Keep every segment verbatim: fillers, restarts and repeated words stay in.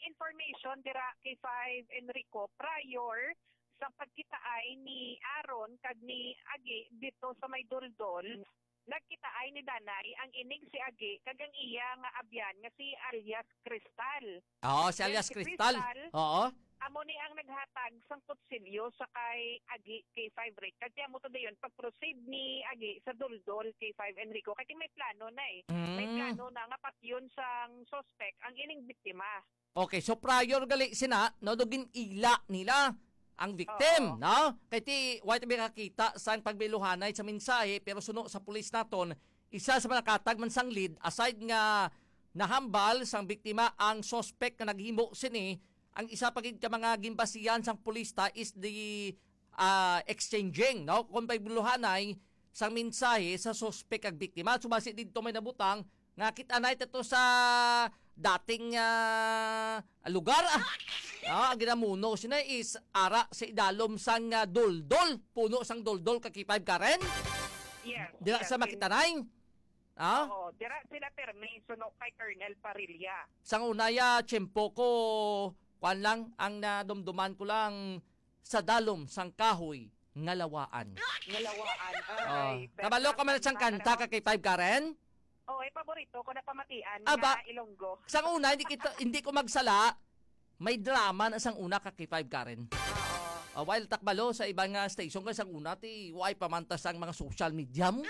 Information dira kay five Enrico, prior sa pagkitaay ni Aaron kag ni Agi dito sa may Doldol, nagkitaay ni Danay ang inig si Agi kag ang iya nga abyan nga si alias Crystal. Oo, si Then alias si Crystal. Crystal, Oo. amo ni ang naghatag sang kutsilyo sa kay Agi kay five Rick. Kag amo to dayon pag-proceed ni Agi sa Doldol kay five Enrico. Kay may plano na eh. May Mm. plano na nga patyon sang suspect ang ining biktima. Okay, so prior gali sina, no, do gin-ila nila ang victim, Oo. no? Kay ti, wa tabi kakita sang pagbiluhanay sa mensahe, pero suno sa pulis naton, isa sa mga katag man sang lead, aside nga nahambal sang biktima ang suspect nga naghimo sini, ang isa pa gid ka mga ginbasihan sang pulis ta is the ah, exchanging, no? Kung pagbiluhanay sang mensahe sa suspek kag biktima. Sumasi didto may nabutang nga kita na ito sa dating, ah, lugar. Ah. Ah, ang ginamuno sina is ara sa idalom sang, ah, Doldol, puno sang Doldol ka K five Karen. Yes, Dira yes, sa yes. Makitanay. Ah? Oo, dira sila permi suno kay Colonel Parilla. Sang una ya tiyempo ko, kwan lang, ang nadumduman ko lang sa dalom sang kahoy nga lawaan. Nga lawaan. Oh, Ay, kabalo ka man sang kanta ka kay Five Karen? Oh, eh, paborito ko na pamatian Aba, nga Ilonggo. Sang una, hindi kita, hindi ko magsala, may drama na sang una ka kay Five Karen. Oo. Ah, while takbalo sa ibang, ah, station kay sang una, ti, why pamantas ang mga social media mo?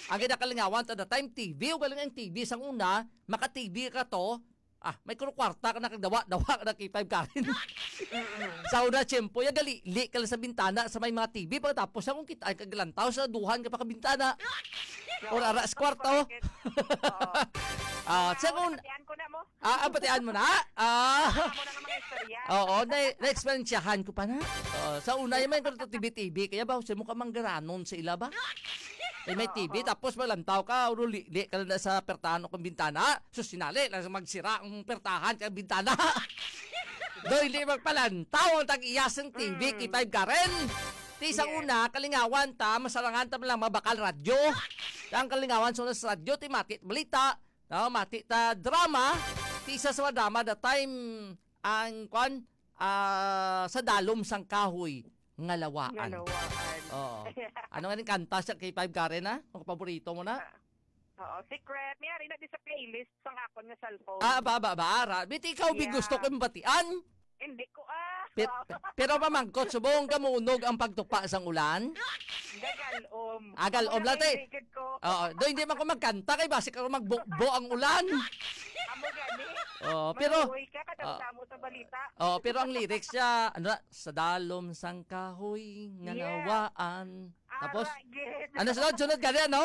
Ang ginakalingawan ta the time, T V, o galing ang T V sang una, maka-T V ka to, ah, may kwarta ka na kag dawa, dawa ka na kay Five Karen. Mm-mm. Sa una, tiyempo, ya gali, li ka lang sa bintana, sa may mga T V, pagkatapos akong kita, ay kaglantaw sa duhan ka pa ka bintana. Or ara sa kwarto. Oo. Ah, Mga sa una, una, batian ko na mo. Ah, ah, batian mo na? Ah. Amo na nga mga istorya. Oo, na, na-eksperyensyahan ko pa na. Oo, sa una, yung may T V-T V, kaya ba, sa mo ka manggaranon sa ila ba? Eh, may Oo. T V, tapos malantaw ka, uruli, di ka na sa pertahan o kung bintana. Sus, sinali, lang sa magsira ang pertahan kay bintana. Do, hindi magpalantaw ang tag-iyas ng T V, Mm. kay Five Karen. Ti sa Yes. una, kalingawan ta, masarangan ta lang mabakal radyo. Ang kalingawan sa una sa radyo, ti mati balita. No, mati ta drama, ti isa sa drama the time ang kwan, ah, sa dalom sang kahoy nga lawaan. Nga lawaan. Oo. Ano nga ning kanta sa kay Five Karen, ha? Ang paborito mo na? Ah, oo, secret. May ari na di sa playlist sang akon nga cellphone. Ah, ba, ba, ba, ara. Biti ikaw, bi Yeah. gusto ko yung batian. Hindi ko, ah. Pet-, Oo. pero pamangkot, subong ka munog ang pagtupa sang ulan? Gagalom. Ah, galom Amo lang, na te. kay likod ko. Oo, do, hindi man ko magkanta kay basi ka magbubo ang ulan. Amo gani. Oo, pero Maluoy ka, kadamo-damo sa balita. Oo, pero ang lyrics siya, ano na, "Sa dalom sang kahoy nga Yeah. nawaan." Ah, Tapos, right, yes. ano sunod? Sunod ka din, no?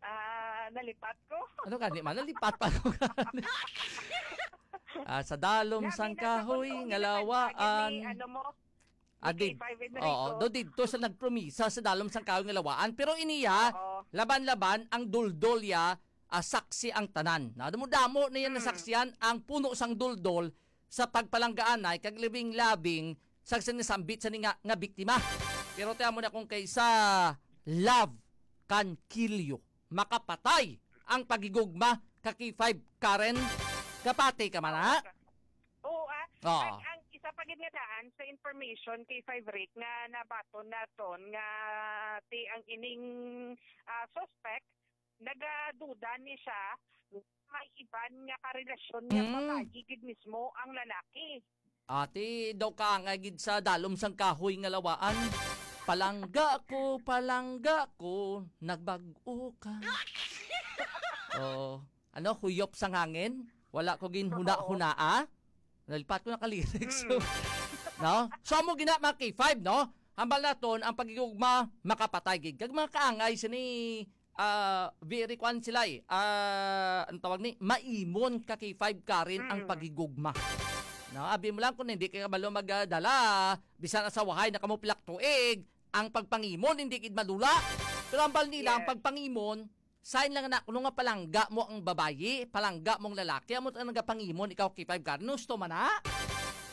Ah, nalipat ko. Ano gani man? Nalipat pa ko gani. Ah, "Sa dalom Labi sang na sa kahoy kung nga ano, lawaan." Ano mo? Ah, Mickey di-, Five Enrico. Oo, do didto sa nagpromisa sa dalom sang kahoy nga lawaan. Pero iniya, Oo. laban-laban ang duldol ya, ah, saksi ang tanan. Na damo-damo na yan Mm. nasaksihan ang puno sang duldol sa pagpalanggaanay kag labing-labing sa sinasambit sa ninga nga biktima. Pero ti amo na kung kaysa love can kill you, makapatay ang paghigugma ka kay Five Karen. Kapati ka man, ha? Oo, ah. Oo. Ang, ang isa pa gid nga daan sa information kay Five Rick nga nabaton naton nga ti ang ining, ah, suspect, nagaduda ni siya may iban nga karelasyon nga Mm. babayi gid mismo ang lalaki. Ati, daw ka nga gid sa dalom sang kahoy nga lawaan. "Palangga ko, palangga ko, nagbag-o ka." Oh, ano, huyop sang hangin? Wala ko ginhuna-hunaa? Nalipat ko na ka lyrics. Mm. No? So, amo gina, mga K five, no? Hambal naton, ang pagigugma, makapatay gid. Kag mga kaangay sini, ah, very kwan sila eh. Ah, ang tawag ni, maimon ka kay Five Karen ang Mm. paghigugma. No, abi mo lang kung hindi ka kabalo magdala, bisan asawahay na kamo pilak tuig, ang pagpangimon hindi gid madula. Pero ang bal nila, ang Yes. pagpangimon, sign lang na kuno nga palangga mo ang babayi, palangga mo ang lalaki, amo ang nagapangimon ikaw kay Five Karen. Gusto man na?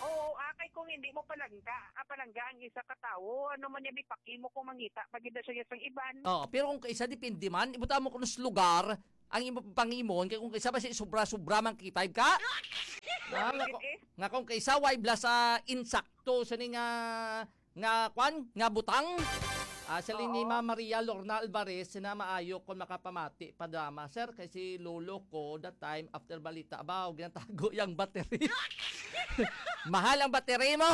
Oo, ah, kay kung hindi mo palangga, ah, palangga ang isa ka tawo, ano man niya, may paki mo kung mangita pa gid siya sang iban. Oo, pero kung kaisa, depende man. Ibuta mo kung sa lugar, ang imo pangimon, kay kung kaisa ba si sobra-sobra man kay Five ka? Ah, nga, ko- nga kung kaisa way bala sa insakto sini nga, nga kwan, nga butang. Ah, sa ni Ma'am Maria Lorna Alvarez na maayo kung makapamati pa drama, sir, kay si lolo ko that time after balita, abaw, ginatago yang battery. Mahal ang battery mo.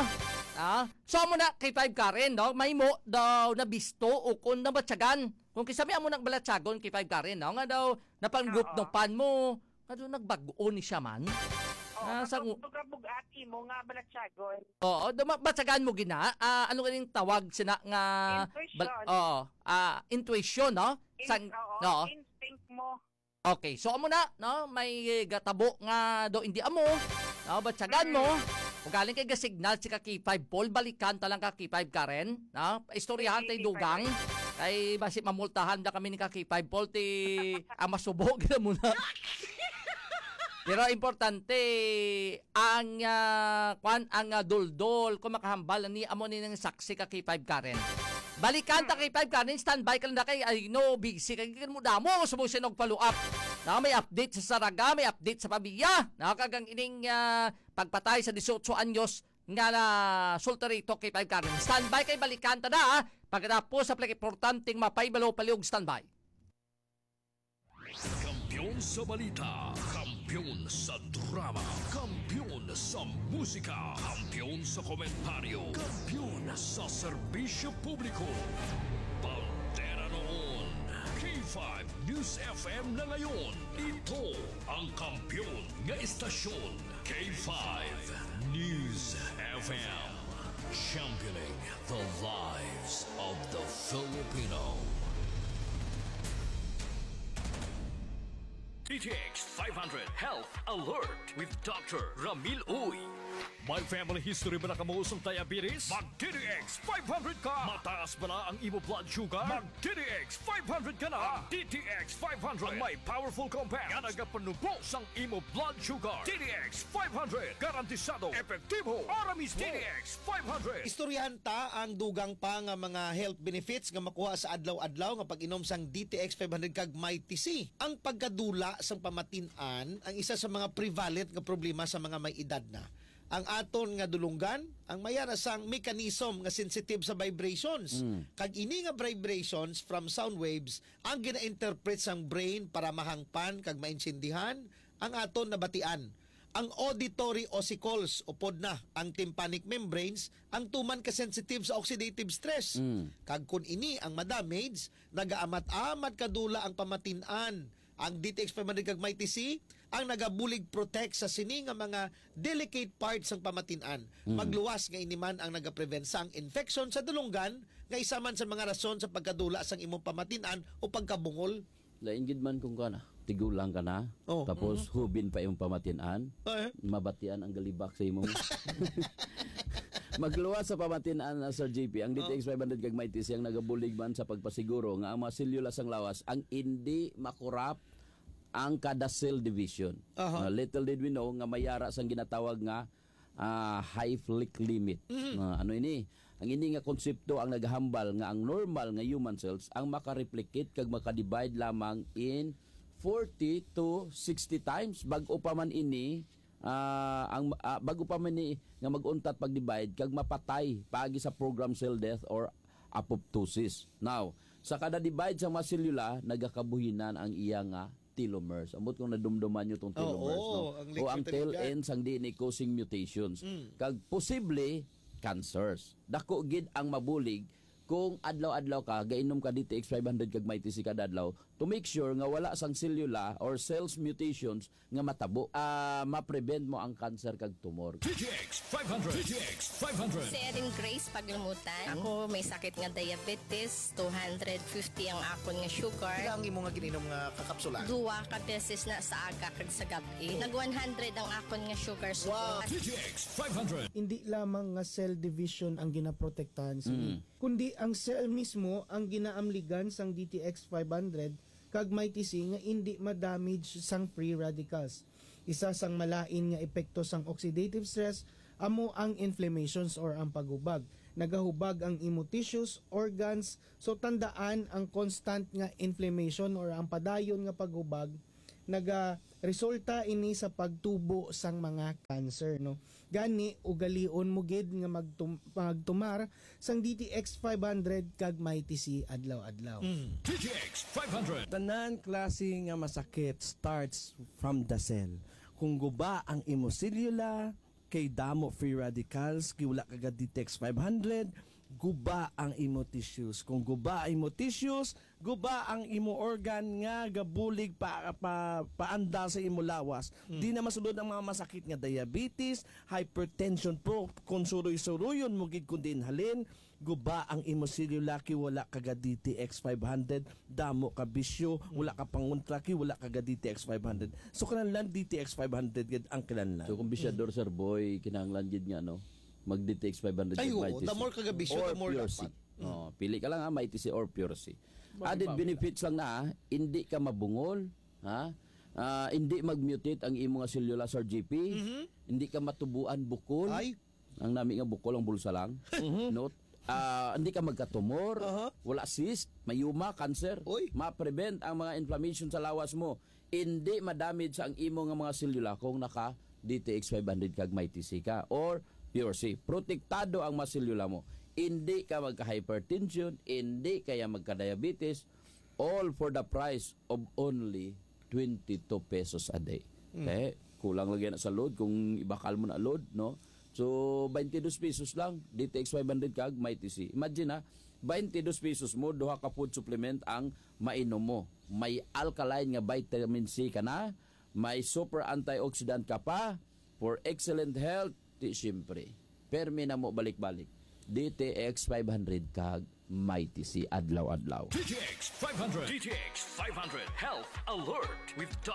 Ah, so mo na kay Five Karen, no? May mo daw nabisto o kung nabatyagan. Kung kisami amo nang balatyagon kay Five Karen, no? Nga daw napanggup-gupan mo. Nga daw nagbag-o ni siya man. Oo, ah, sa ngu- nagabug-ati mo nga balatyagon. Oo, duma- batyagan mo gina. Ah, ano ganing tawag sina nga Intuition. Bal- oo, ah, intuition, no? In- Sang- oo, no? Instinct mo. Okay, so amo na, no? May gatabo nga do hindi amo, no? Batyagan mo. Mm. Ugaling kay gasignal si ka K five Paul, balikan ta lang ka K five Karen, no? Istoryahan tay dugang. Kay basi mamultahan na kami ni ka K five Paul, ti ang masubo gid mo na. Pero importante ang, ah, kwan, ang, ah, duldol kung makahambal ni amo ni nang saksi ka K five Karen. Balikan ta kay Five Karen, standby ka lang na kay, ay, no, busy kay mo damo sa mo sinog follow up. Na may update sa Saraga, may update sa Pavia. Na kagang ining, ah, pagpatay sa dieciocho anyos nga na sultarito kay Five Karen. Standby kay balikan ta na, ah. Pagkatapos sa pinakaimportanteng mapay balo paliog standby. Kampiyon sa balita, kampiyon sa drama, kampiyon sa musika, kampiyon sa komentaryo, kampiyon sa serbisyo publiko. Bandera noon, K five News F M na ngayon. Ito ang kampiyon nga estasyon, K five News F M. Championing the lives of the Filipino. D T X five hundred Health Alert with Doctor Ramil Uy. May family history ba na kamo sang diabetes? Mag D T X five hundred ka! Mataas ba na ang imo blood sugar? Mag D T X five hundred ka na! Ang D T X five hundred ang may powerful compound nga nagapanubo sang imo blood sugar. D T X five hundred, garantisado, epektibo, para mismo. D T X five hundred. Istoryahan ta ang dugang pa nga mga health benefits nga makuha sa adlaw-adlaw nga pag-inom sang D T X five hundred kag Mighty C. Ang pagkadula sang pamatin-an ang isa sa mga prevalent nga problema sa mga may edad na. Ang aton nga dulunggan, ang may ara sang mechanism nga sensitive sa vibrations. Mm. Kag ini nga vibrations from sound waves ang gina-interpret sang brain para mahangpan kag maintindihan ang aton nabatian. Ang auditory ossicles, upod na ang tympanic membranes, ang tuman ka sensitive sa oxidative stress. Mm. Kag kun ini ang madamage, nagaamat-amat kadula ang pamatin-an. Ang D T X five hundred kag Mighty C ang nagabulig protect sa sini nga mga delicate parts sang pamatin-an. Mm. Magluwas nga ini man ang nagaprevent sang infection sa dulunggan nga isa man sa mga rason sa pagkadula sang imong pamatin-an o pagkabungol. Lain gid man kung kana, tigulang ka na, oh, tapos, mhm, hubin pa imong pamatin-an, eh, mabatian ang galibak sa imo. Magluwas sa pamatin-an na, Sir J P, ang, oh, D T X five hundred kag Mighty C ang nagabulig man sa pagpasiguro nga ang mga selula sang lawas ang indi makurap ang kada cell division. Aha. Ah, little did we know nga may ara sang ginatawag nga ah, half-life limit. Mhm. Ah, ano ini? Ang ini nga konsepto ang naghambal nga ang normal nga human cells ang makareplicate kag makadivide lamang in forty to sixty times. Bag-o pa man ini, ah, ang, ah, bag-o pa man ni nga mag-untat pag-divide kag mapatay paagi sa programmed cell death or apoptosis. Now, sa kada divide sa mga selula, nagakabuhinan ang iya nga telomeres. Ambot kung nadumduman nyo tong telomeres, oo, no? Ang, o ang tail end sang D N A causing mutations. Mm. Kag posible, cancers. Dako gid ang mabulig kung adlaw-adlaw ka, gainom ka D T X five hundred kag Mighty C kada adlaw to make sure nga wala sang selula or cells mutations nga matabo. Ah, ma-prevent mo ang cancer kag tumor. D T X five hundred. D T X five hundred. Si Erin Grace Paglamutan. Ako may sakit nga diabetes, two hundred fifty ang akon nga sugar. Pila ang imo nga gininom nga kakapsula? Duwa ka beses na sa aga kag sa gab-i. Nag one hundred ang akon nga sugar. Wow. Sugar. D T X five hundred. Hindi lamang nga cell division ang ginaprotektahan sini, mm, kundi ang cell mismo ang ginaamligan sang D T X five hundred kag Mighty C nga indi ma-damage sang free radicals. Isa sang malain nga epekto sang oxidative stress amo ang inflammations or ang paghubag. Nagahubag ang imo tissues, organs, so tandaan ang constant nga inflammation or ang padayon nga paghubag naga Resulta ini sa pagtubo sang mga cancer, no? Gani, ugalion mo gid nga magtum-, magtumar sang D T X five hundred kag Mighty C adlaw-adlaw. D T X five hundred. Tanan klase nga masakit starts from the cell. Kung guba ang imo selula, kay damo free radicals, kay wala ka ga D T X five hundred, guba ang imo tissues. Kung guba ang imo tissues, guba ang imo organ nga gabulig pa, pa, paanda sa imo lawas. Di na masulod ang mga masakit nga diabetes, hypertension po, kung suroy-suroyon mo gid kung diin halin, guba ang imo selula kay wala ka ga D T X five hundred, damo ka bisyo, wala ka pangontra kay wala ka ga D T X five hundred. So, kinahanglan D T X five hundred gid ang kinahanglan. So kung bisyador, Sir Boy, kinahanglan gid nga, no, mag D T X five hundred Ay, kag oo, Mighty the C. more ka ga bisyo, Or the more Pure dapat. C. Oh, pili ka lang, ha, Mighty C or Pure C. Added benefits lang na, ha, hindi ka mabungol, ha? Ah, hindi mag-mutate ang imo nga selula, Sir G P. Hindi ka matubuan bukol. Ay. Ang nami nga bukol ang bulsa lang. No? Ah, hindi ka magkatumor, Aha. wala cyst, myoma, cancer. Oy. Ma-prevent ang mga inflammation sa lawas mo. Hindi ma-damage ang imo nga mga selula kung naka D T X five hundred kag Mighty C ka or Pure C. Protektado ang mga selula mo. Hindi ka magka-hypertension, hindi kaya magka-diabetes, all for the price of only twenty-two pesos a day. Eh, kulang lagi na sa load kung ibakal mo na load, no? So, twenty-two pesos lang, D T X five hundred kag Mighty C. Imagine, ha, twenty-two pesos mo, duha ka food supplement ang mainom mo. May alkaline nga vitamin C ka na, may super antioxidant ka pa, for excellent health, di siyempre. Permi na mo balik-balik. D T X five hundred kag Mighty C adlaw-adlaw. D T X five hundred. D T X five hundred Health Alert with